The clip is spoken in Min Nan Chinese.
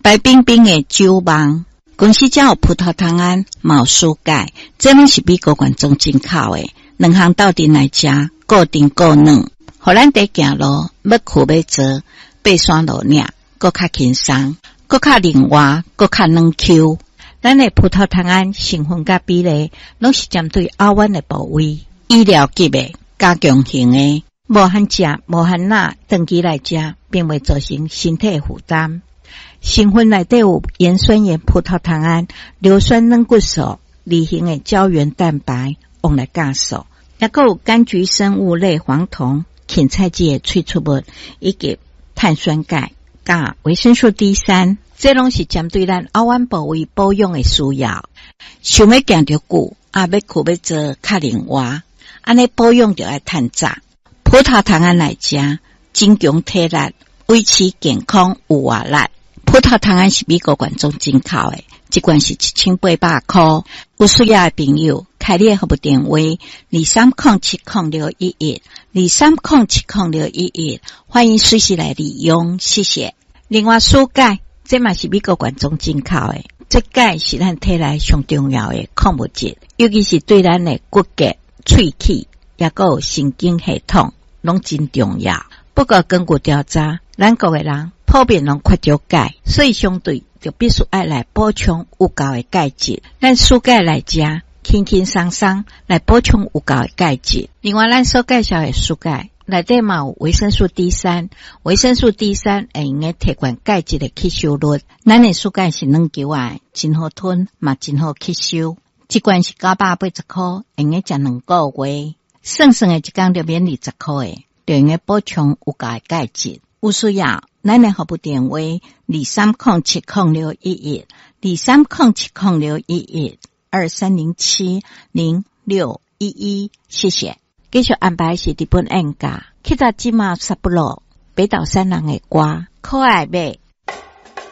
白冰冰的酒夢。公司遮有葡萄糖胺，嘛有舒鈣，這攏是美國原裝進口的。兩項鬥陣來食，固定夠軟，予咱佇行路欲睏欲坐，爬山落嶺，閣較輕鬆，閣較靈活，閣較軟 Q。咱的葡萄糖胺成分佮比例，攏是針對喉彎的部位，醫療級的加強型的，無限食，無限若，長期來食，並袂造成身體負擔。成分內底有鹽酸鹽葡萄糖胺、硫酸軟骨素、二型的膠原蛋白、黃來酵素，抑閣有柑橘生物類黃酮、芹菜籽的萃取物，以及碳酸鈣、佮維生素 D3，這攏是針對咱喉彎部位保養的需要。想欲行著久，啊，欲睏欲坐較靈活，按呢保養著愛趁早。葡萄糖胺來食，增強體力，維持健康有活力。葡萄糖胺是美國原裝進口的，一罐是1800箍。有需要的朋友，開你的服務電話：23070611，23070611，歡迎隨時來利用，謝謝。另外，舒鈣，這嘛是美國原裝進口的，這鈣是咱體內上重要的礦物質，尤其是對咱的骨骼、喙齒，抑閣有神經系統，攏真重要。不過根據調查，咱國的人普遍攏缺少鈣，所以相對就必須愛來補充有夠的鈣質。咱舒鈣來食，輕輕鬆鬆來補充有夠的鈣質。另外，咱所介紹的舒鈣內底嘛有維生素 D3，維生素 D3 會用得提懸鈣質的吸收率。咱的舒鈣是軟球仔，真好吞，嘛真好吸收。一罐是980箍，會用得食2個月。算算的一工就免20箍的，就用得補充有夠的鈣質。有需要，咱的服務電話：23070611，23070611，23070611，謝謝。繼續安排是日本演歌，去到這馬札幌北島三郎的歌，可愛欲。